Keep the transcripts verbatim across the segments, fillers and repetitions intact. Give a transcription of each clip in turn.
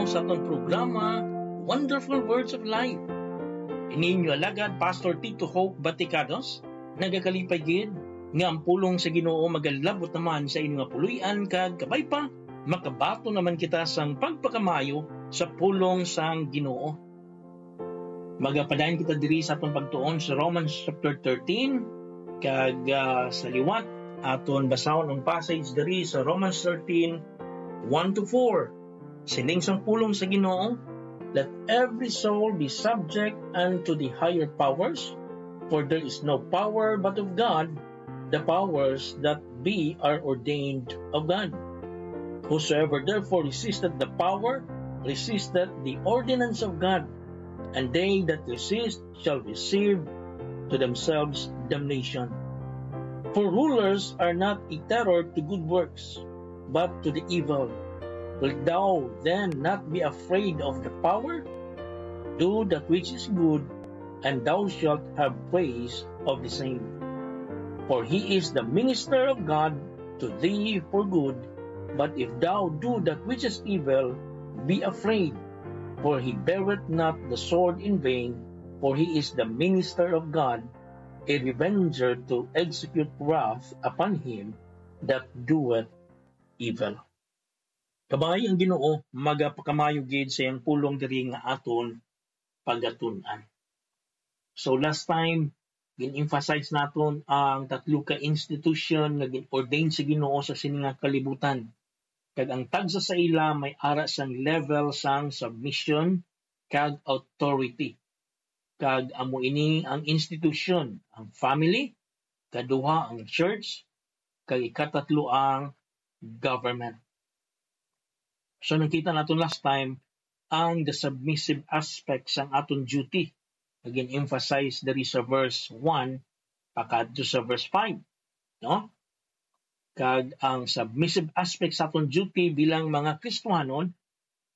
sa atong programa, Wonderful Words of Life. Ini inyo alagad, Pastor Tito Hope Baticados, nagakalipay gid nga ang pulong sa Ginoo magalabot naman sa inyo nga puloy-an, kag kabay pa, makabaton naman kita sang pagpakamayo sa pulong sang Ginoo. Magapadayon kita diri sa atong pagtuon sa Romans chapter thirteen, kag, ah, sa liwat, aton basahon ang passage diri sa Romans thirteen, one to four. Sining sang pulong sa Ginoo, "Let every soul be subject unto the higher powers, for there is no power but of God, the powers that be are ordained of God. Whosoever therefore resisteth the power, resisteth the ordinance of God, and they that resist shall receive to themselves damnation. For rulers are not a terror to good works, but to the evil. Wilt thou then not be afraid of the power? Do that which is good, and thou shalt have praise of the same. For he is the minister of God to thee for good. But if thou do that which is evil, be afraid, for he beareth not the sword in vain, for he is the minister of God, a revenger to execute wrath upon him that doeth evil." Kabay, ang Ginoo magapakamayo gid sa iyang pulong diri nga aton pagatun-an. So, last time, gin-emphasize naton ang tatlo ka institution nga gin-ordain sa Ginoo sa sini nga kalibutan, kag ang tagsa sa ila may ara sang level sang submission kag authority. Kag amo ini ang institution, ang family, kaduha ang church, kag ikatatlo ang government. So, nakita naton last time ang the submissive aspect sang aton duty nga gin-emphasize diri sa verse one pakadto sa verse five, no? Kag ang submissive aspect sa aton duty bilang mga Kristiyanon,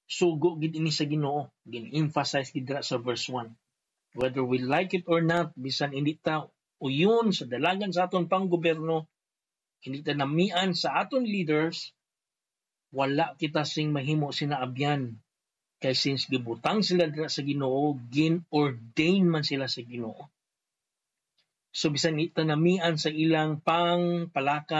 sugo gid ini sa Ginoo, gin-emphasize gid dira sa verse one. Whether we like it or not, bisan hindi ta uyon sa dalagan sa aton panggobyerno, hindi ta namian sa aton leaders, wala kita sing mahimo sina abyan. Kay since gibutang sila dira sa Ginoo, gin-ordain man sila sa Ginoo. So, bisan hindi ta namian sa ilang pangpalakat,